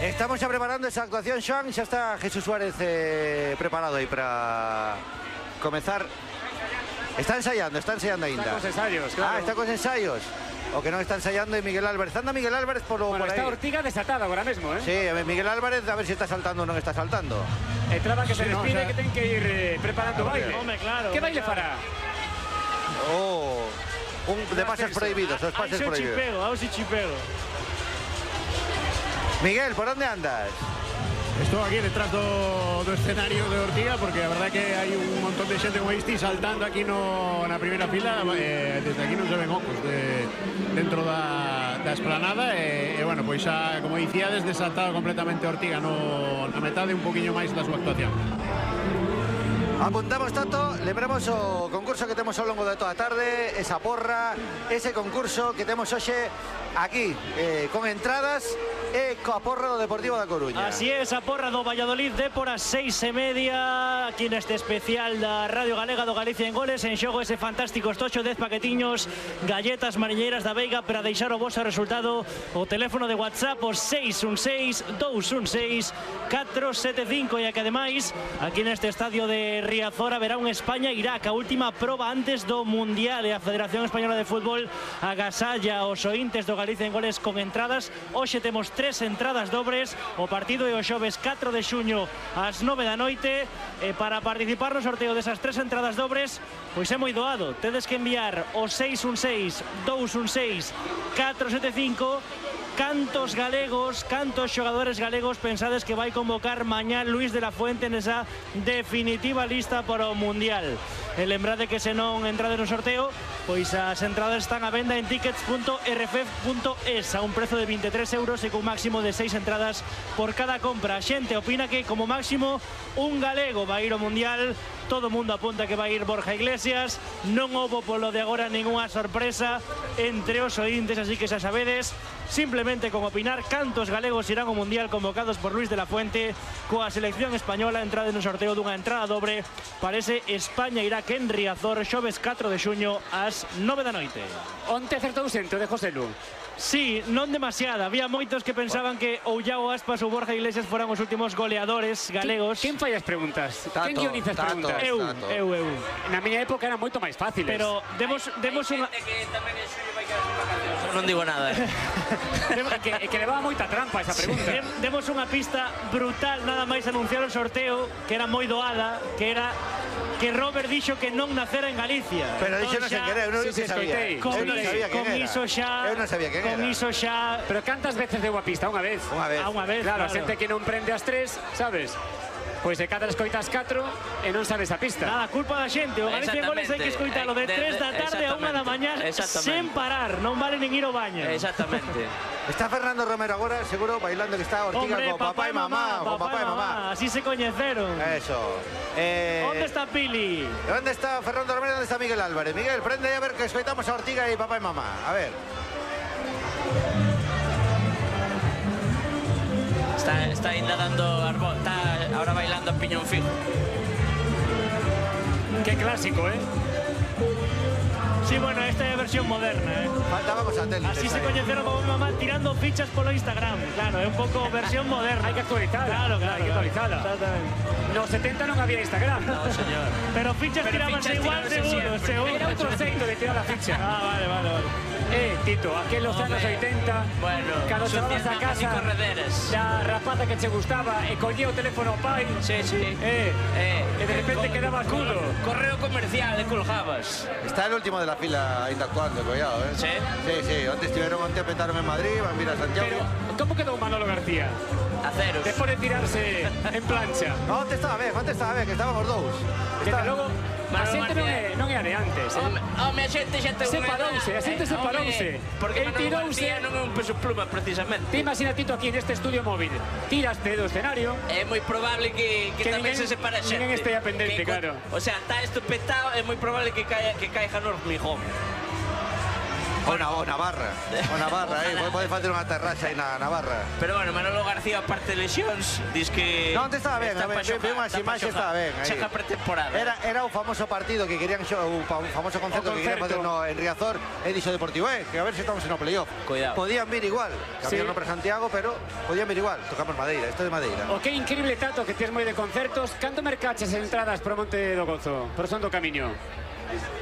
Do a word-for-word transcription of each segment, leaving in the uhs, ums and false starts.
Estamos ya preparando esa actuación, Xoan. Ya está Jesús Suárez eh, preparado ahí para comenzar. Está ensayando, está ensayando ainda. Está con ensayos, claro. Ah, está con ensayos. O que no está ensayando y Miguel Álvarez. Anda Miguel Álvarez por, bueno, por ahí. Está Ortiga desatada ahora mismo, ¿eh? Sí, Miguel Álvarez a ver si está saltando o no está saltando. Entraba que se sí, despide, no, o sea, que tienen que ir eh, preparando hombre, baile. hombre, claro, ¿Qué baile claro. fará? Oh, un de pases prohibidos, dos pases Ahí prohibidos. chipego, ahora sí chipego. Miguel, ¿por dónde andas? Estou aquí detrás do, do escenario de Ortiga porque a verdade que hai un montón de xente como isti saltando aquí no, na primeira fila, eh, desde aquí non se ven ocos de, dentro da, da esplanada e, e bueno, pois xa, como dicía, desde saltado completamente Ortiga no, na metade un poquinho máis da súa actuación. Apuntamos tanto, lembramos o concurso que temos ao longo de toda a tarde, esa porra, ese concurso que temos hoxe aquí, eh, con entradas e coa porra do Deportivo da Coruña. Así es, a porra do Valladolid de por as seis e media aquí neste especial da Radio Galega do Galicia en Goles. En xogo ese fantástico estocho, dez paquetiños, galletas mariñeiras da Veiga para deixar o vosso resultado. O teléfono de WhatsApp o seis un seis, dous un seis, catro sete cinco. E que ademais aquí neste estadio de Riazor haberá un España-Irak, a última proba antes do Mundial, e a Federación Española de Fútbol agasalla os ointes do Galicia en Goles con entradas. Hoxe temos tres entradas dobres, o partido é o xoves catro de xuño ás nove da noite, e para participar no sorteo desas tres entradas dobres pois é moi doado, tedes que enviar o seis un seis, dous un seis, catro sete cinco. Cantos galegos, cantos xogadores galegos pensades que vai convocar mañá Luis de la Fuente nesa definitiva lista para o Mundial? E lembrade que se non entrades no sorteo, pois as entradas están a venda en tickets punto r f f punto es a un prezo de veintitrés euros e con máximo de seis entradas por cada compra. A xente opina que como máximo un galego vai ir ao Mundial. Todo o mundo apunta que vai ir Borja Iglesias. Non houbo polo de agora ningunha sorpresa entre os ointes, así que xa sabedes, simplemente con opinar cantos galegos irán ao Mundial convocados por Luis de la Fuente coa selección española. Entrade no sorteo dunha entrada dobre para ese España-Irak en Riazor, xoves catro de xuño ás nove da noite. Onte acertou xente de José Lu. Sí, non demasiada. Había moitos que pensaban que ou Iago Aspas ou Borja Iglesias foran os últimos goleadores galegos. Quen fai as preguntas? Tato, Quen guioniza as Tato, preguntas? Eu, Tato. eu, eu. Na miña época eran moito máis fáciles. Pero demos, demos unha... Non digo nada. Eh. É que, é que levaba moita trampa esa pregunta. Dem- Demos unha pista brutal nada máis anunciar o sorteo, que era moi doada, que era que Robert dixo que non nacera en Galicia. Pero dixo non Entón sen xa, querer, eu non sí, sí, sabía. escoitei. Con, Eu non iso- sabía quen con era. iso xa, Eu non sabía quen con era. iso xa, Pero cantas veces deu a pista? Unha vez. Unha vez. a unha vez, Claro, a claro. xente que non prende as tres, sabes? Pois de cada escoitas catro e non sabes a pista. Nada, culpa da xente. O Galicia en Goles hai que escoitalo de De- de- tres da tarde a unha da mañá exactamente. sen parar, non vale nin ir ao baño. Exactamente. Está Fernando Romero agora, seguro, bailando que está Ortiga Hombre, con papá, y mamá, con papá y mamá. Así se coñeceron. Eso. Eh, ¿Dónde está Pili? ¿Dónde está Fernando Romero? ¿Dónde está Miguel Álvarez? Miguel, prende ahí a ver que escoitamos a Ortiga y papá y mamá. A ver. Está, está ainda dando arbo, está ahora bailando en piñón fijo. Qué clásico, ¿eh? Sí, bueno, esta é a versión moderna, eh. Faltábamos satélites. Así se ahí. coñeceron como mi mamá tirando fichas polo Instagram. Claro, é un pouco versión moderna. Hai que actualizala. Claro, claro. Hai que actualizala. Exactamente. Nos setenta non había Instagram. No, señor. Pero fichas Pero tirabanse fichas igual, tirabanse seguro, siempre. seguro. Era outro xeito de tirar a ficha. Ah, vale, vale, vale. Eh, Tito, aqueles Hombre, anos oitenta, bueno, cando sucias chavabas a mamas y casa correderes. da rapaza que che gustaba e collía o teléfono ao pai, Sí, sí. eh, Eh, e de repente co- quedaba culo. Correo comercial de colgabas. Está el último de la fila ainda actuando, cuidado, ¿eh? Sí. Sí, sí. Antes estuvieron onte petaron en Madrid, van a ir a Santiago. Pero, como quedou Manolo García? A ceros. Despois de tirarse en plancha. No, antes estaba ben, antes estaba ben, que estábamos dous. Que Está- logo, a Manolo xente non García. é, non é a de antes. eh. Home, home, a xente xa ten unha Separouse, edad, a xente eh, separouse. home, Porque El Manolo tirouse. García non é un peso pluma, precisamente. Te imagina, Tito, aquí neste estudio móvil. Tiraste do escenario. É moi probable que, que, Que tamén ninguén- se separe xente. ninguén estea pendente, Que co- claro. O sea, está esto petado, é moi probable que caia, que caiga no hormigón. O na, o Navarra. O Navarra, aí. Pode facer unha terraxa aí na Navarra. Pero bueno, Manolo García, aparte de lesións, dis que... Non, te estaba ben, a ver, vi unhas imaxes, estaba ben. Chega pretemporada. Era, era o famoso partido que querían, o famoso concerto que querían facer no, en Riazor, e dixo Deportivo, eh, que a ver se estamos en o playoff. Cuidado. Podían vir igual, cambiaron Sí. para Santiago, pero podían vir igual. Tocamos Madeira, isto de Madeira. O que increíble tato que tes moi de concertos. Canto mercaches entradas para Monte do Gozo? Por son do camiño.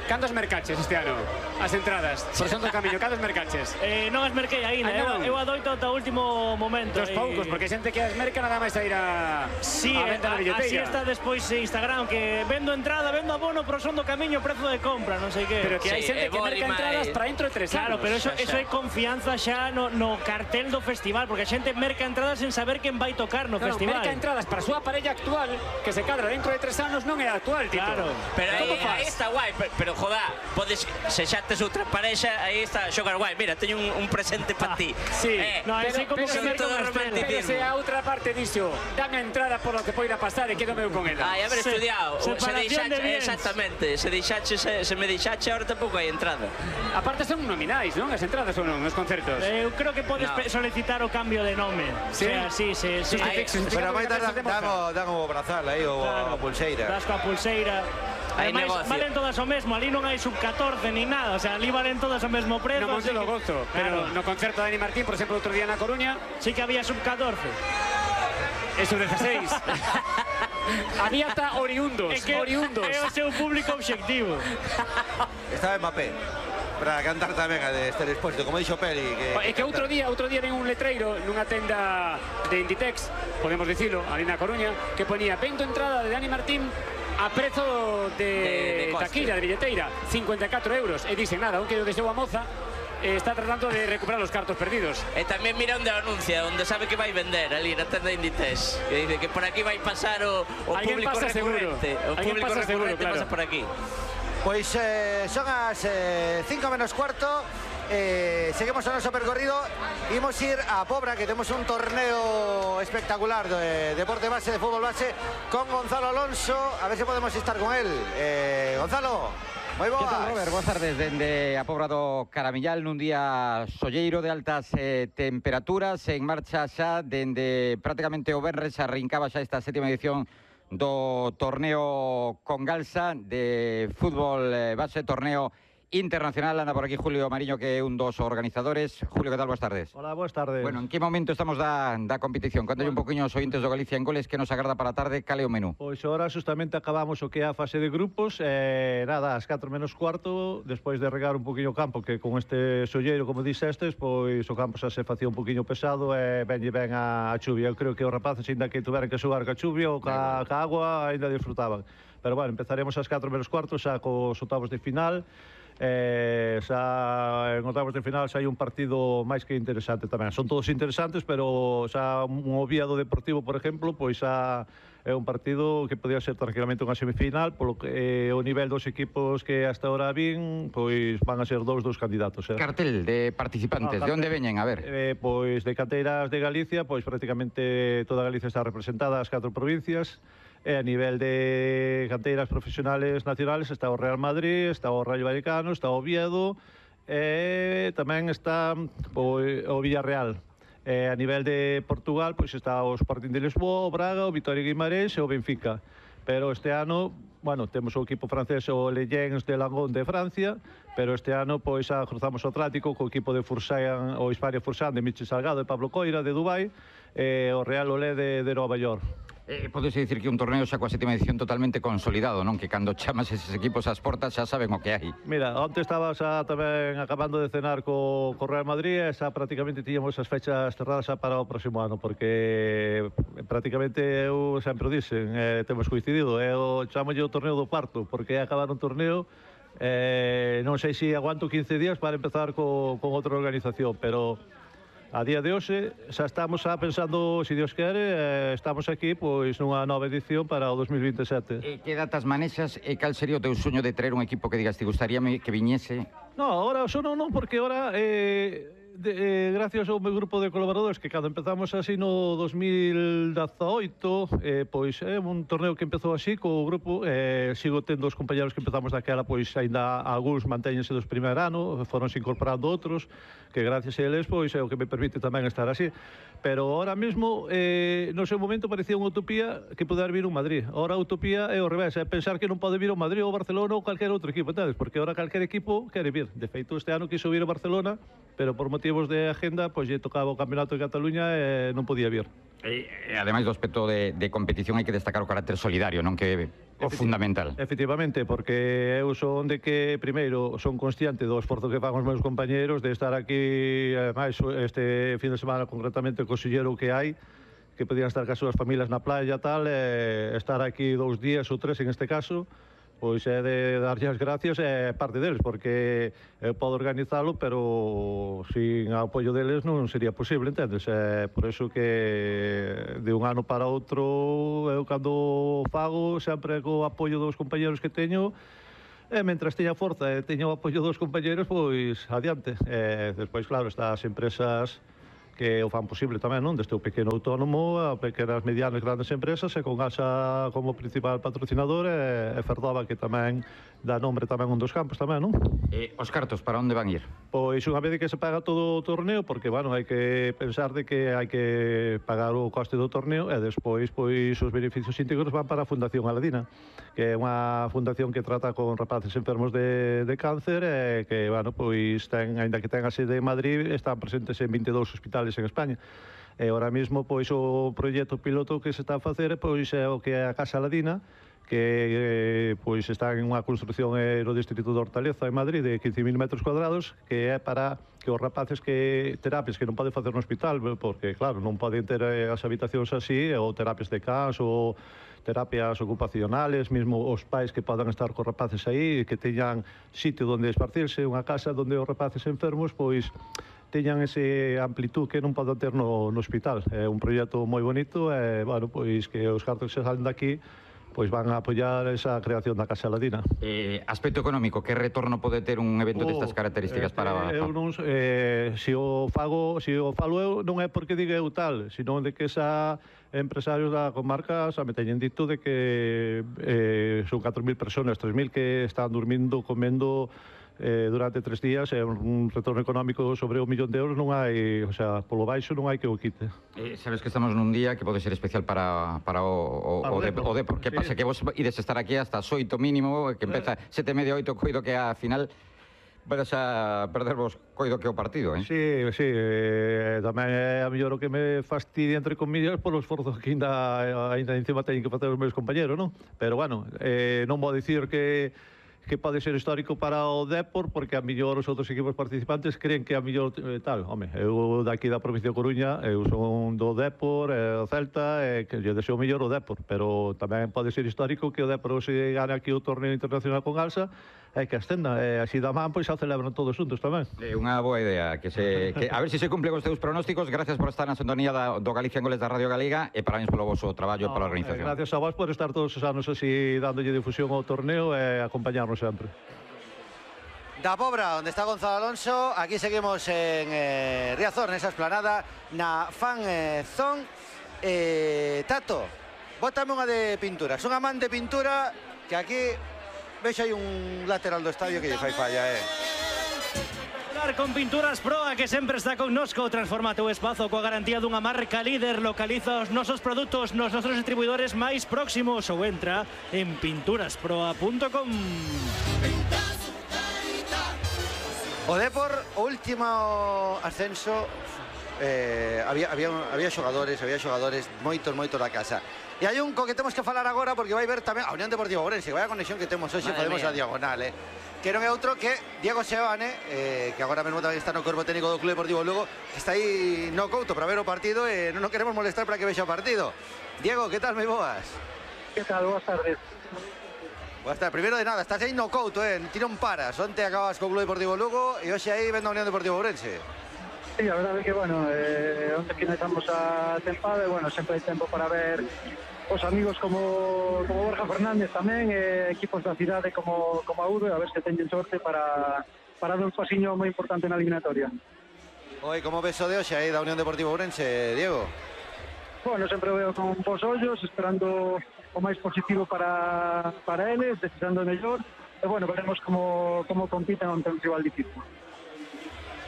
Cantos mercaches este ano? As entradas, por son do camiño, cantos mercaches? Eh, non as merquei aínda, Ai, non. eu, eu adoito ata o último momento. Dos eh. poucos, porque xente que as merca nada máis a ir a, Sí, a venta na a- así billeteira. está despois en Instagram, que vendo entrada, vendo abono, pero son do camiño, prezo de compra, non sei que. Pero que hai Sí, xente e que Boli merca máis- entradas para dentro de tres Claro, anos. pero eso, xa, eso xa. é confianza xa no, no cartel do festival, porque a xente merca entradas sen saber quen vai tocar no No, no, festival. merca entradas para a súa parella actual, que se cadra dentro de tres anos, non é a actual, Tito. Claro. Pero aí, Como fas? aí está guai, pero, pero joda, podes, se xa tes outra parexa, aí está xogar guai. Mira, teño un, un presente para ti. Sí, Eh, No, pero, así como pero, que se- merca todo unha estrela. pero romanticismo. se a outra parte dixo, dame a entrada por lo que poida pasar e quedo meu con ela. Ai, haber Se- estudiado. Se separación de deixache, bienes. exactamente, se deixache, se, se me deixache, ahora tampouco hai entrada. Aparte son nominais, non? As entradas ou non, os concertos. Eh, Eu creo que podes No. pe- solicitar o cambio de nome. Sí? O sea, sí, sí, sí. Ai, Pero a máis dan, dan, o, dan o brazal aí, o Claro. a pulseira. Das coa pulseira. Hai Ademais, negocio. valen todas o mesmo, ali non hai sub catorce ni nada, o sea, ali valen todas o mesmo prezo. No Monte así do que- Gozo, pero Claro. no concerto de Dani Martín, por exemplo, outro día na Coruña, Sí que había sub catorce. é sub dezasseis. Había ata oriundos, É que oriundos. é o seu público obxectivo. Estaba Mbappé. Para cantar tamén a de Esther Expósito, como dixo Peri. Que, É que outro día, outro día ven un letreiro nunha tenda de Inditex, podemos dicilo, ali na Coruña, que ponía vendo entrada de Dani Martín a prezo De- de, de coste. taquilla, de billeteira, cincuenta e catro euros. E dicen nada, aunque o deseo a moza, eh, está tratando de recuperar os cartos perdidos. E tamén mira onde anuncia, onde sabe que vai vender, ali na tenda de Inditex. Que dice que por aquí vai pasar o, o Alguén público pasa seguro. recurrente. O Alguén público pasa seguro, recurrente claro. pasa por aquí. Pois eh, son as eh, cinco menos cuarto. Eh, seguimos o noso percorrido. Imos ir a Pobra, que temos un torneo espectacular de deporte base, de fútbol base, con Gonzalo Alonso. A ver se podemos estar con él. Eh, Gonzalo, moi boas. Que tal, Robert? Boas tardes dende a Pobra do Caramillal nun día solleiro de altas eh, temperaturas, en marcha xa dende prácticamente o venres, arrincaba xa esta sétima edición do torneo Congalsa de fútbol eh, base, torneo internacional. Anda por aquí Julio Mariño, que é un dos organizadores. Julio, que tal? Boas tardes. Hola, boas tardes. Bueno, en que momento estamos da, da competición? Contalle un poquinho aos ointes do Galicia en Goles que nos agarda para a tarde, cal é o menú? Pois agora justamente acabamos o que é a fase de grupos, e nada, ás catro menos cuarto, despois de regar un poquinho o campo, que con este solleiro, como dixestes, pois o campo xa se facía un poquinho pesado e venlle ben a, a chuvia. Eu creo que os rapaces, ainda que tuveran que xogar ca chuvia ou ca, ca agua, ainda disfrutaban. Pero bueno, empezaremos ás catro menos cuarto xa cos octavos de final. Eh, xa en octavos de final xa hai un partido máis que interesante tamén. Son todos interesantes, pero xa un Oviedo Deportivo, por exemplo, pois xa é un partido que podía ser tranquilamente unha semifinal, polo que eh, o nivel dos equipos que hasta ahora vin, pois van a ser dous dos candidatos. Eh. Cartel de participantes, No, de onde cartel. veñen? A ver. Eh, pois de canteiras de Galicia, pois prácticamente toda Galicia está representada, as catro provincias. E a nivel de canteiras profesionales nacionales está o Real Madrid, está o Rayo Vallecano, está o Oviedo e tamén está pois, o Villarreal. E a nivel de Portugal, pois está o Sporting de Lisboa, o Braga, o Vitoria Guimarães e o Benfica. Pero este ano, bueno, temos o equipo francés, o Le Gens de Langon de Francia, pero este ano pois xa cruzamos o Atlántico co equipo de Fursan, o Hispania Fursan de Michel Salgado e Pablo Coira de Dubai e o Real Olé de, de Nova York. Eh, Podese dicir que un torneo xa coa sétima edición totalmente consolidado, non? Que cando chamas eses equipos ás portas xa saben o que hai. Mira, onte estaba xa tamén acabando de cenar co, co Real Madrid e xa prácticamente tiñamos as fechas cerradas xa para o próximo ano, porque prácticamente eu sempre o dixen, eh, temos coincidido, eu chamolle o torneo do parto, porque é acabar un torneo, eh, non sei se aguanto quince días para empezar co, con outra organización, pero a día de hoxe xa estamos xa pensando, se Dios quere, eh, estamos aquí pois nunha nova edición para o dos mil vinte e sete. E que datas manexas e cal sería o teu sueño de traer un equipo que digas, te gustaría que viñese? No, ahora eso non, non, porque ahora eh, de, eh, gracias ao meu grupo de colaboradores que cando empezamos así no dos mil dezaoito, eh, pois é un torneo que empezou así co grupo, eh, sigo tendo os compañeros que empezamos daquela, pois aínda algúns mantéñense dos primeiro ano, foronse incorporando outros, que gracias a eles pois é o que me permite tamén estar así. Pero ahora mesmo, eh, no seu momento parecía unha utopía que poder vir un Madrid. Ahora a utopía é o revés, é pensar que non pode vir o Madrid ou o Barcelona ou calquer outro equipo, entendes? Porque ahora calquer equipo quere vir. De feito, este ano quiso vir o Barcelona, pero por motivos de agenda, pois lle tocaba o Campeonato de Cataluña e non podía vir. E, ademais do aspecto de, de competición hai que destacar o carácter solidario, non que o fundamental. Efectivamente, porque eu son de que primeiro son consciente do esforzo que fan os meus compañeros de estar aquí, ademais este fin de semana concretamente co xillero que hai, que podían estar cas súas familias na playa tal, e estar aquí dous días ou tres en este caso, pois é de darlle as gracias é parte deles, porque eu podo organizalo, pero sin apoio deles non sería posible, entendes? É por eso que de un ano para outro eu cando fago sempre co apoio dos compañeros que teño, e mentras teña forza e teña o apoio dos compañeros, pois adiante. E despois, claro, estas empresas que o fan posible tamén, non? Desde o pequeno autónomo a pequenas, medianas, grandes empresas, e con Alsa como principal patrocinador, e, e Ferdoba, que tamén dá nombre tamén un dos campos tamén, non? E os cartos, para onde van ir? Pois unha vez que se paga todo o torneo, porque, bueno, hai que pensar de que hai que pagar o coste do torneo, e despois, pois, os beneficios íntegros van para a Fundación Aladina, que é unha fundación que trata con rapaces enfermos de, de cáncer, e que, bueno, pois, ten, ainda que ten a sede en Madrid, están presentes en vinte e dous hospitales en España. E ahora mesmo, pois, o proxecto piloto que se está a facer, pois, é o que é a Casa Aladina, que eh, pois está en unha construción eh, no distrito de Hortaleza, en Madrid, de quince mil metros cuadrados, que é para que os rapaces que terapias que non poden facer no hospital, porque, claro, non poden ter eh, as habitacións así, ou terapias de cas, ou terapias ocupacionales, mesmo os pais que podan estar cos rapaces aí, que teñan sitio onde esparcirse, unha casa onde os rapaces enfermos, pois, teñan ese amplitud que non poden ter no, no hospital. É un proxecto moi bonito, e, bueno, pois, que os cartos que se salen daqui pois van a apoiar esa creación da Casa Aladina. Eh, aspecto económico, que retorno pode ter un evento oh, destas características eh, para... Eu non, eh, se o fago, se o falo eu, non é porque diga eu tal, sino de que esa empresarios da comarca xa me teñen dito de que eh, son catro mil personas, tres mil que están dormindo, comendo eh, durante tres días, é un retorno económico sobre un millón de euros, non hai, o sea, polo baixo non hai que o quite. Eh, sabes que estamos nun día que pode ser especial para, para o, o, para o, de, o Depor. Que sí. Pasa que vos ides estar aquí hasta as oito mínimo, que empeza eh. sete e media, oito, coido que a final podes a perdervos coido que o partido, eh? Sí, sí, eh, tamén é a mellor o que me fastidia, entre comillas, polo esforzo que ainda, ainda encima teñen que facer os meus compañeros, non? Pero, bueno, eh, non vou dicir que que pode ser histórico para o Depor, porque a mellor os outros equipos participantes creen que a mellor eh, tal. Home, eu daqui da provincia de Coruña, eu son do Depor, e o Celta, e que lle deseo mellor o Depor, pero tamén pode ser histórico que o Depor se gane aquí o torneo internacional con Alsa, e que ascenda, e así da man, pois se celebran todos juntos tamén. É unha boa idea, que se que a ver se se cumplen os teus pronósticos. Gracias por estar na sintonía da, do Galicia en Goles da Radio Galega, e parabéns polo voso traballo e pola organización. Eh, gracias a vos por estar todos os anos así dándolle difusión ao torneo e acompañarnos sempre. Da Pobra, onde está Gonzalo Alonso, aquí seguimos en eh, Riazor, nesa esplanada, na Fan eh, Zone. Eh, Tato, bótame unha de pintura. Son amán de pintura que aquí vexo hai un lateral do estadio que lle fai falla, eh. Con Pinturas Proa, que sempre está connosco, transforma teu espazo coa garantía dunha marca líder. Localiza os nosos produtos nos nosos distribuidores máis próximos ou entra en pinturas proa punto com. O Depor, o último ascenso, eh, había, había, había xogadores, había xogadores moitos, moitos da casa. E hai un co que temos que falar agora, porque vai ver tamén a Unión Deportiva Ourense, vai a conexión que temos hoxe, podemos a diagonal, eh. Que non é outro que Diego Seoane, eh, que agora mesmo tamén está no corpo técnico do Club Deportivo Lugo, que está aí no couto para ver o partido e non nos queremos molestar para que vexa o partido. Diego, que tal, moi boas? Que tal, boas tardes. Boas tardes, primeiro de nada, estás aí no couto, eh, ti non paras, onte acabas co Club Deportivo Lugo e hoxe aí vendo a Unión Deportiva Ourense. Sí, a verdade é que, bueno, eh, onte finalizamos a tempada e, bueno, sempre hai tempo para ver os amigos como, como Borja Fernández tamén, e equipos da cidade como, como a Udo, a ver se teñen sorte para, para dar un pasiño moi importante na eliminatoria. Oi, como ves o de hoxe aí da Unión Deportiva Ourense, Diego? Bueno, sempre veo con bons ollos, esperando o máis positivo para, para eles, deseando o mellor. E, bueno, veremos como, como compiten ante un rival difícil.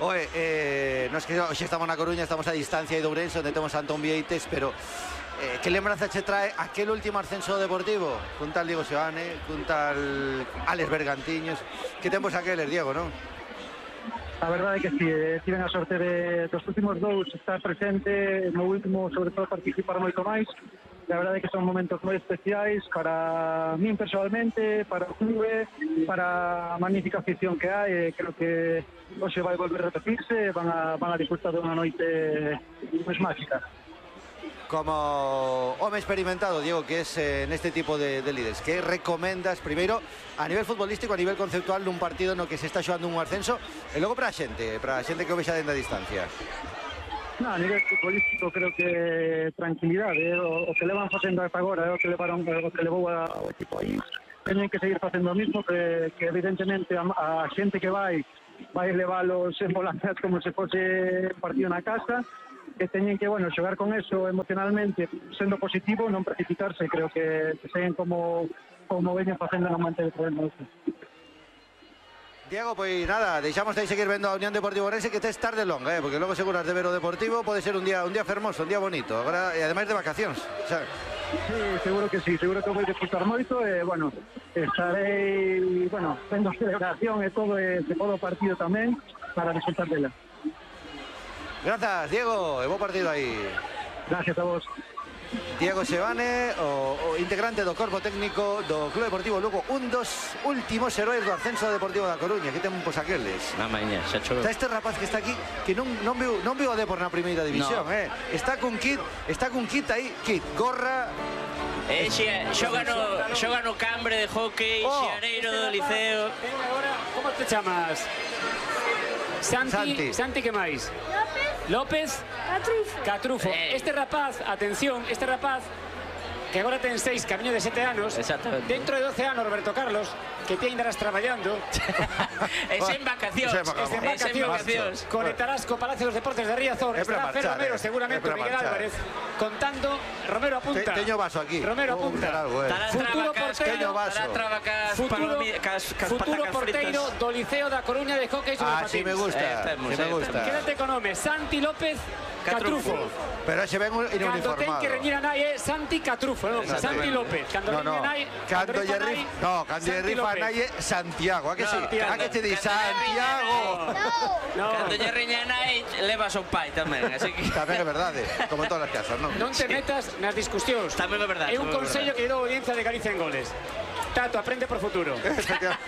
Oe, eh, nos que hoxe estamos na Coruña, estamos a distancia de Ourense, onde temos a Antón Vieites, pero eh, que lembranza che trae aquel último ascenso deportivo? Cun tal Diego Seoane, cun tal Alex Bergantiños. Que tempos aqueles, Diego, non? A verdade é que si, eh, tiven a sorte de dos últimos dous estar presente, no último, sobre todo, participar moito máis. A verdade é que son momentos moi especiais para min personalmente, para o clube, para a magnífica afición que hai. Creo que hoxe vai volver a repetirse, van a, van a disfrutar de unha noite máis mágica. Como home experimentado, Diego, que es eh, neste tipo de, de líderes, que recomendas primeiro a nivel futbolístico, a nivel conceptual nun partido no que se está xogando un ascenso e logo para a xente, para a xente que o vexa dentro da distancia? No, a nivel futbolístico creo que tranquilidade, eh, o, o que levan facendo ata agora, é eh, o que levaron, o que levou ao equipo aí. Teñen que seguir facendo o mismo, que, que evidentemente a, a xente que vai vai leválos en volantes como se fose un partido na casa, que teñen que, bueno, xogar con eso emocionalmente, sendo positivo, non precipitarse. Creo que, que seguen como, como veñen facendo no manter o problema. Diego, pois nada, deixamos de seguir vendo a Unión Deportiva Ourense, que tes tarde longa, eh, porque logo seguras de ver o Deportivo, pode ser un día un día fermoso, un día bonito, agora, e ademais de vacacións, xa. Sí, seguro que sí, seguro que vou disfrutar moito, e, bueno, estarei, bueno, vendo a celebración e todo, e se todo o partido tamén, para disfrutar dela. Grazas, Diego, e bo partido aí. Gracias a vos. Diego Seoane, o, o integrante do corpo técnico do Club Deportivo Lugo, un dos últimos heróis do ascenso deportivo da Coruña. Que tempos aqueles. Na maña, xa choveu. Está este rapaz que está aquí, que non, non, viu, non viu o Depor na primeira división, no. eh. Está cun kit, está cun kit aí, kit, gorra. Eh, xe, xoga no, xoga no Cambre de hockey, oh. Xeaneiro do Liceo. Agora, como te chamas? Santi, Santi, Santi, que máis? López. López. Catrufo. Catrufo. Eh. Este rapaz, atención, este rapaz, que agora ten seis, camiño de sete anos, dentro de doce anos, Roberto Carlos, que te andarás traballando. Es en vacacións. Es en vacacións. Conectarás co Palacio dos Deportes de Riazor. Estará Fer Romero, eh. seguramente, Miguel Álvarez, contando. Romero apunta. Te, teño vaso aquí. Romero apunta. Algo, eh. Futuro porteiro. Futuro, futuro porteiro do Liceo da Coruña de hockey sobre ah, patins. Sí me gusta, eh, sí me gusta. Quédate con nome, Santi López Catrufo. Pero se ven un uniformado. Cando ten que reñir a nai é Santi Catrufo, non? Santi López. Cando no, no. reñir a nai, cando lle rif, no, cando lle rifa a nai é Santiago, a que si? A que te di Santiago? No. Cando lle reña a nai levas o pai tamén, así que tamén é verdade, como en todas as casas, non? Non te metas nas discusións. Tamén é verdade. É un consello que lle dou a audiencia de Galicia en Goles. Tato, aprende por futuro.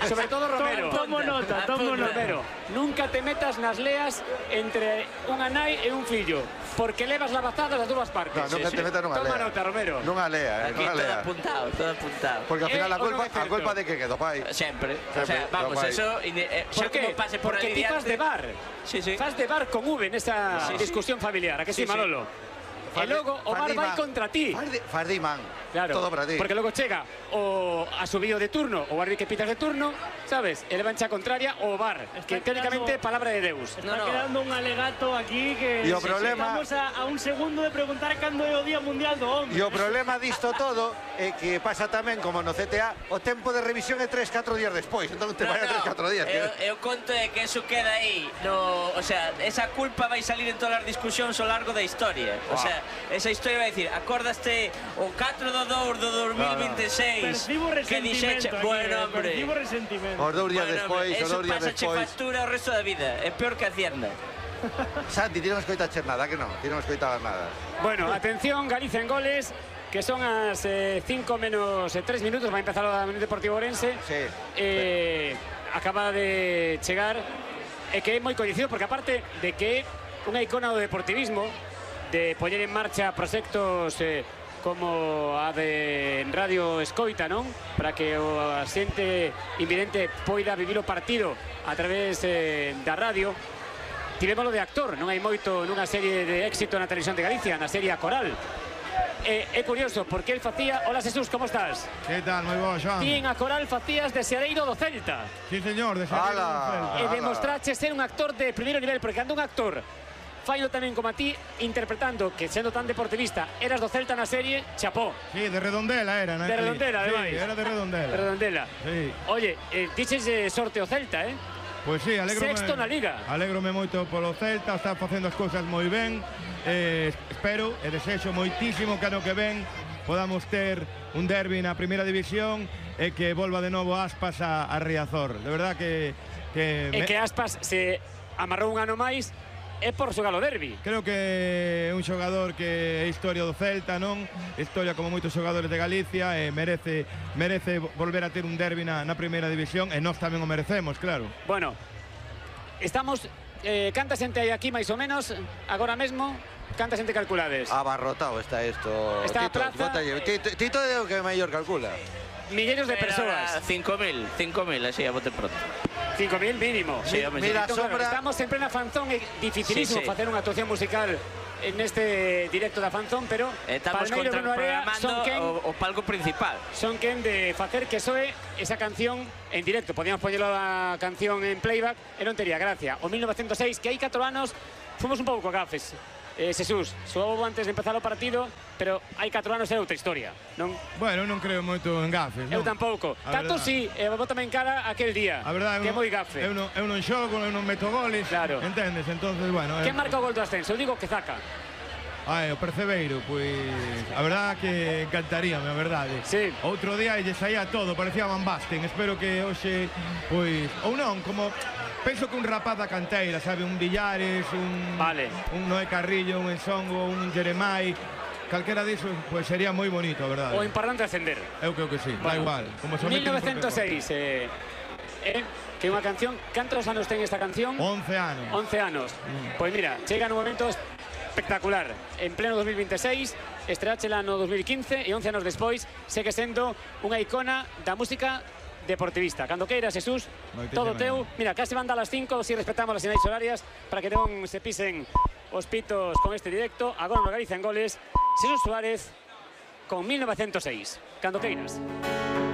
Sobre todo Romero. Tomo nota, tomo nota. Romero, nunca te metas nas leas entre unha nai e un fillo, porque levas lavazadas das dúas partes. No, nunca sí, te metas nunha lea. Toma nota, Romero. Nunha lea, eh, aquí nunha lea. Todo apuntado, todo apuntado. Porque ao final eh, a culpa, a culpa de que quedó pai. Sempre. Sempre. O sea, vamos, eso eh, xa como pase por porque aí ti fas de bar. Sí, sí. Fas de bar con V nesa sí, discusión sí. familiar, a que sí, sí Manolo? E logo o bar vai contra ti. Faz de imán. Claro, todo para ti. Porque logo chega o a subido de turno, o árbitro que pitas de turno, sabes? E levancha contraria o bar, está que técnicamente palabra de Deus. Está no, no. quedando un alegato aquí que e o sí, problema... estamos a, a un segundo de preguntar cando é o Día Mundial do Hombre. E o problema disto todo é que pasa tamén como no C T A, o tempo de revisión é tres catro días despois, entón te no, vai a tres catro días. Eu, eu conto é que eso queda aí, no, o sea, esa culpa vai salir en todas as discusións ao largo da historia. Wow. O sea, esa historia vai dicir, acordaste o catro do dous do dos mil veintiséis, percibo que dixeche, bueno, hombre, percibo resentimento. Os dous días bueno, despois, os dous días despois. Eso pasa factura o resto da vida, é peor que Hacienda. Santi, ti non escoitaches nada, que non? Ti non escoitabas nada. Bueno, atención, Galicia en Goles, que son as eh, cinco menos tres minutos, vai empezar o Unión Deportiva Ourense. Sí. Eh, acaba de chegar, e que é moi coñecido, porque aparte de que é unha icona do deportivismo, de poñer en marcha proxectos eh, como a de Radio Escoita, non? Para que o xente invidente poida vivir o partido a través eh, da radio. Tivémolo de actor, non hai moito nunha serie de éxito na televisión de Galicia, na serie A Coral. É, é curioso, porque el facía... Hola, Jesús, como estás? Que tal? Moi bo, Joan. Ti en A Coral facías de Xeareiro do Celta. Sí, señor, de Xeareiro do Celta. E demostrache ser un actor de primeiro nivel, porque cando un actor faino tamén como a ti, interpretando que sendo tan deportivista eras do Celta na serie, chapó. Sí, de Redondela era, ¿no? De Redondela, sí, ademais. era de Redondela. De Redondela. Sí. Oye, eh, dices eh, sorte o Celta, eh? Pois sí, alégrome. Sexto na Liga. Alégrome moito polo Celta, está facendo as cousas moi ben. Eh, espero e desexo moitísimo que ano que ven podamos ter un derbi na primeira división e que volva de novo Aspas a, a Riazor. De verdad que... que E me... que Aspas se amarrou un ano máis é por xogar o derbi. Creo que é un xogador que é historia do Celta, non? Historia como moitos xogadores de Galicia e merece merece volver a ter un derbi na, na primeira división e nós tamén o merecemos, claro. Bueno, estamos... Eh, canta xente aí aquí máis ou menos agora mesmo? Canta xente calculades? Abarrotado está isto. Está a Tito, praza, bótalle. eh, Tito, Tito é o que mellor calcula. Milleiros de persoas. cinco mil, cinco mil, así a bote pronto. cinco mil mínimo. Sí, home, sí. Mira, Entón, sombra... claro, estamos en plena fanzón, é dificilísimo Sí, sí. facer unha actuación musical en este directo da fanzón, pero Estamos Palmeiro e Bruno Area son contraprogramando quen, o, o palco principal. son quen de facer que soe esa canción en directo. Podíamos poñelo a canción en playback e non tería gracia. O mil novecientos seis, que hai catro anos, fomos un pouco gafes. Eh, Xesús, soou antes de empezar o partido, pero hai catro anos é outra historia, non? Bueno, non creo moito en gafes, non? Eu tampouco. A Tanto verdade. si, e bótame en cara aquel día, A verdade, que é eu non- moi gafe. Eu non, eu non xogo, eu non meto goles, Claro. entendes? Entonces, bueno... Quen eh, marca o gol do ascenso? Eu digo que Zaca. Ai, o Percebeiro, pois... A verdade que encantaríame, a verdade. Sí. Outro día lle saía todo, parecía Van Basten. Espero que hoxe, pois... Ou non, como... Penso que un rapaz da canteira, sabe? Un Villares, un... Vale. Un Noé Carrillo, un Ensongo, un Jeremai... Calquera disso, pois sería moi bonito, a verdade. O importante é ascender. Eu creo que sí, da Bueno, igual. Como se mil novecientos seis, eh, eh, que é unha canción. Cantos anos ten esta canción? once anos. once anos. Pois mira, chega nun momento espectacular. En pleno dos mil veintiséis, estreáchela no dos mil quince e once anos despois segue sendo unha icona da música deportivista. Cando queiras, Jesús, Moitísimas todo teu. Mira, casi van dar as cinco, si respetamos as sinais horarias para que non se pisen os pitos con este directo. Agora no Galicia en goles, Jesús Suárez con mil novecientos seis. Cando queiras.